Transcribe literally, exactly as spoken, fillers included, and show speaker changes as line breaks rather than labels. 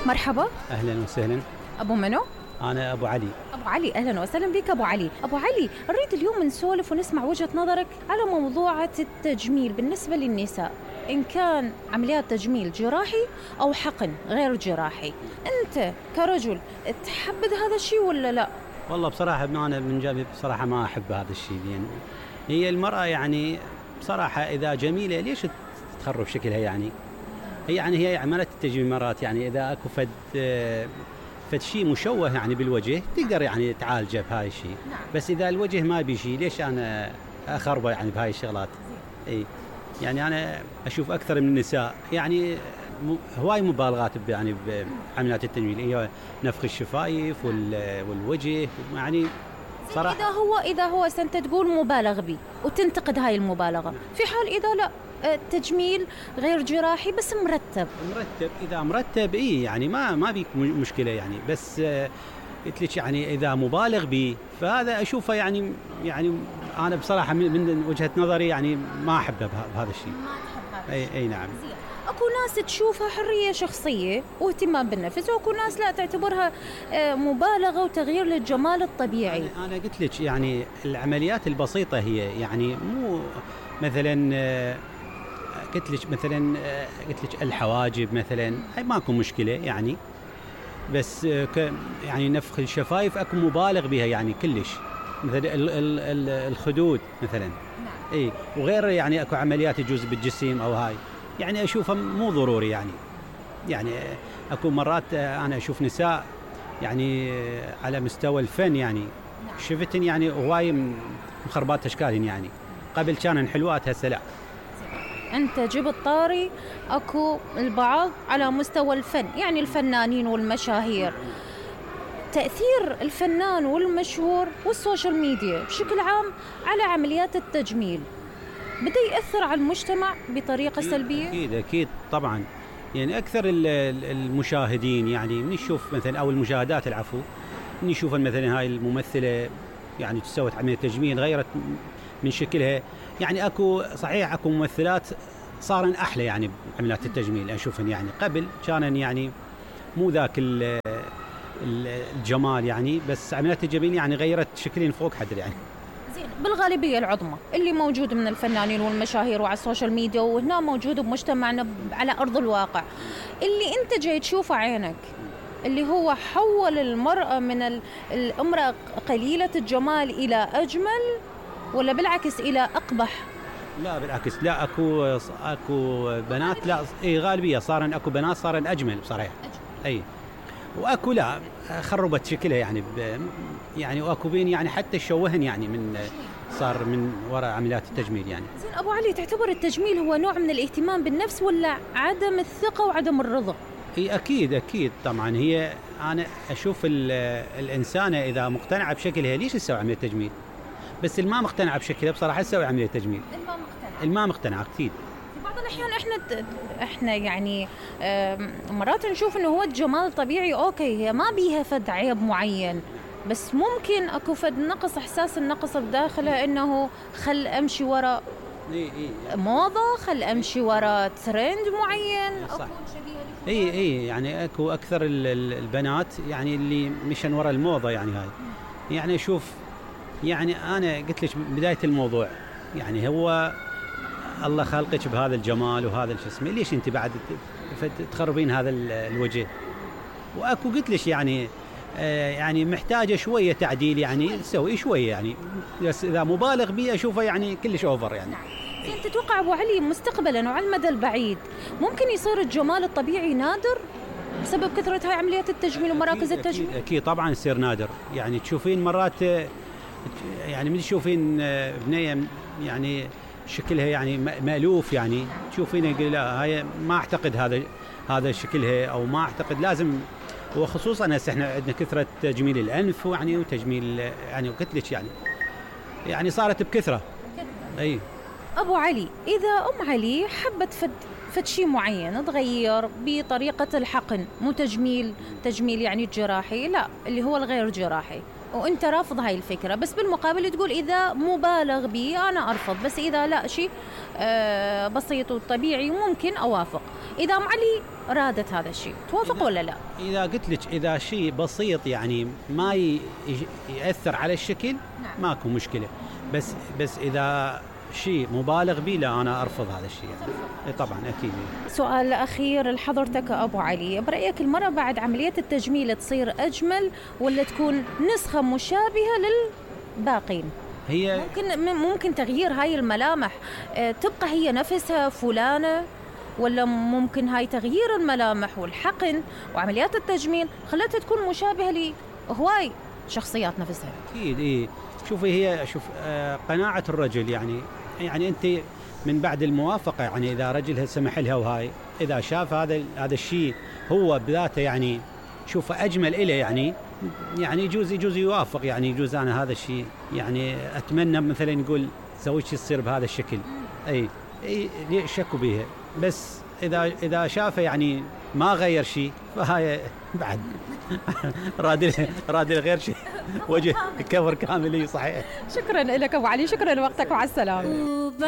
مرحبا.
أهلا وسهلا.
أبو منو؟
أنا أبو علي.
أبو علي، أهلا وسهلا بك أبو علي. أبو علي، نريد اليوم نسولف ونسمع وجهة نظرك على موضوع التجميل بالنسبة للنساء، إن كان عمليات تجميل جراحي أو حقن غير جراحي. أنت كرجل تحبذ هذا الشيء ولا لا؟
والله بصراحة أنا من جانبي بصراحة ما أحب هذا الشيء، يعني هي المرأة يعني بصراحة إذا جميلة ليش تخرب شكلها؟ يعني هي يعني هي عملت التجميل مرات، يعني إذا أكو فد فد شيء مشوه يعني بالوجه تقدر يعني تعالجه بهاي الشيء.
نعم.
بس إذا الوجه ما بيشي ليش أنا أخربه يعني بهاي الشغلات؟ إيه يعني أنا أشوف أكثر من النساء يعني هواي مبالغات يعني بعمليات التجميل، هي نفخ الشفايف والوجه يعني صراحة.
إذا هو إذا هو أنت تقول مبالغ به وتنتقد هاي المبالغة، في حال إذا لا التجميل غير جراحي بس مرتب.
مرتب إذا مرتب إيه يعني ما ما بيك مشكلة يعني، بس قلت لك يعني إذا مبالغ به فهذا أشوفه يعني يعني أنا بصراحة من وجهة نظري يعني ما أحبه بهذا الشيء.
ما تحب هذا
أي أي نعم.
زين. أكو ناس تشوفها حرية شخصية واهتمام بالنفس، وأكو ناس لا تعتبرها مبالغة وتغيير للجمال الطبيعي.
أنا, أنا قلت لك يعني العمليات البسيطة هي يعني مو مثلا قلت لك مثلا قلت لك الحواجب مثلا هاي ماكو مشكلة يعني، بس يعني نفخ الشفايف اكو مبالغ بها يعني كلش، مثلا ال ال ال الخدود مثلا.
نعم.
اي وغير يعني اكو عمليات يجوز بالجسم او هاي يعني اشوفها مو ضروري يعني. يعني اكو مرات انا اشوف نساء يعني على مستوى الفن يعني شفتن يعني هواي مخربات اشكالهم، يعني قبل كانن حلوات هسه لا.
أنت جبت طاري أكو البعض على مستوى الفن، يعني الفنانين والمشاهير، تأثير الفنان والمشهور والسوشيال ميديا بشكل عام على عمليات التجميل بدأ يأثر على المجتمع بطريقة
أكيد
سلبية؟
أكيد أكيد طبعا، يعني أكثر المشاهدين يعني من يشوف مثلا أو المشاهدات العفو من يشوف مثلا هاي الممثلة يعني سوت عملية تجميل غيرت من شكلها، يعني اكو صحيح اكو ممثلات صارن احلى يعني بعمليات التجميل اشوفن، يعني قبل كانن يعني مو ذاك الجمال يعني، بس عمليات التجميل يعني غيرت شكلين فوق حد يعني.
زين، بالغالبية العظمى اللي موجود من الفنانين والمشاهير وعلى السوشيال ميديا وهنا موجود بمجتمعنا على ارض الواقع، اللي انت جاي تشوفه عينك اللي هو حول المرأة من الامرأة قليلة الجمال الى اجمل ولا بالعكس إلى أقبح؟
لا بالعكس، لا أكو أكو بنات لا إيه غالبية صارن أكو بنات صارن أجمل بصراحة. أي وأكو لا خربت شكلها يعني يعني وأكو بين يعني حتى شوهن يعني من صار من وراء عمليات التجميل يعني.
زين أبو علي، تعتبر التجميل هو نوع من الاهتمام بالنفس ولا عدم الثقة وعدم الرضا؟
إيه أكيد أكيد طبعا، هي أنا أشوف الإنسانة إذا مقتنعة بشكلها ليش تسوي عملية تجميل؟ بس الما مقتنعة بشكلها بصراحة تسوي عملية تجميل.
الما مقتنعة.
الما مقتنعة كثير.
في بعض الأحيان إحنا إحنا يعني مرات نشوف إنه هو الجمال طبيعي أوكي، هي ما بيها فد عيب معين، بس ممكن أكو فد نقص، إحساس النقص بداخلها إنه خل أمشي وراء
إيه إيه
موضة، خل أمشي وراء ترند معين.
صح. إيه إيه يعني أكو أكثر البنات يعني اللي مشان وراء الموضة يعني هاي. يعني أشوف يعني أنا قلت لك بداية الموضوع يعني هو الله خلقك بهذا الجمال وهذا الجسم، ليش أنت بعد تخربين هذا الوجه؟ وأكو قلت لك يعني آه يعني محتاجة شوية تعديل يعني تسوي شوية يعني، بس إذا مبالغ بيه أشوفه يعني كلش أوفر يعني.
أنت تتوقع أبو علي مستقبلا وعلى المدى البعيد ممكن يصير الجمال الطبيعي نادر بسبب كثرة هاي عمليات التجميل ومراكز
أكيد
التجميل؟
أكيد, أكيد طبعا يصير نادر، يعني تشوفين مرات يعني من تشوفين بنية يعني شكلها يعني مألوف يعني تشوفين يقول لا هاي ما أعتقد هذا هذا شكلها أو ما أعتقد لازم، وخصوصا هسه احنا عندنا كثرة تجميل الأنف يعني وتجميل يعني وقلت لك يعني يعني صارت بكثرة. أي
أبو علي، إذا أم علي حبت فد فد شيء معين تغير بطريقة الحقن، مو تجميل تجميل يعني الجراحي، لا اللي هو الغير جراحي، وانت رافض هاي الفكره، بس بالمقابل تقول اذا مبالغ به انا ارفض، بس اذا لا شيء آه بسيط وطبيعي ممكن اوافق. اذا ام علي رادت هذا الشيء توافق ولا لا؟
اذا قلت لك اذا شيء بسيط يعني ما ي- ياثر على الشكل
نعم.
ماكو مشكله، بس بس اذا شيء مبالغ به لا انا ارفض هذا الشيء يعني. إيه طبعا اكيد.
سؤال اخير لحضرتك ابو علي، برايك المراه بعد عمليه التجميل تصير اجمل ولا تكون نسخه مشابهه للباقين؟
هي
ممكن ممكن تغيير هاي الملامح آه، تبقى هي نفسها فلانة، ولا ممكن هاي تغيير الملامح والحقن وعمليات التجميل خلتها تكون مشابهة لهواي شخصيات نفسها؟
اكيد ايه. شوفي هي شوف آه قناعه الرجل يعني، يعني انت من بعد الموافقه يعني اذا رجلها سمح لها وهاي اذا شاف هذا هذا الشيء هو بذاته يعني شوفه اجمل إله يعني يعني يجوز يجوز يوافق يعني يجوز انا هذا الشيء يعني اتمنى مثلا يقول زوجتي تصير بهذا الشكل. اي اي ليه شكوا بيها، بس اذا اذا شافه يعني ما غير شيء فهاي بعد راد راد غير شيء وجه كفر كامل. صحيح.
شكرا لك ابو علي، شكرا لوقتك، مع السلامة.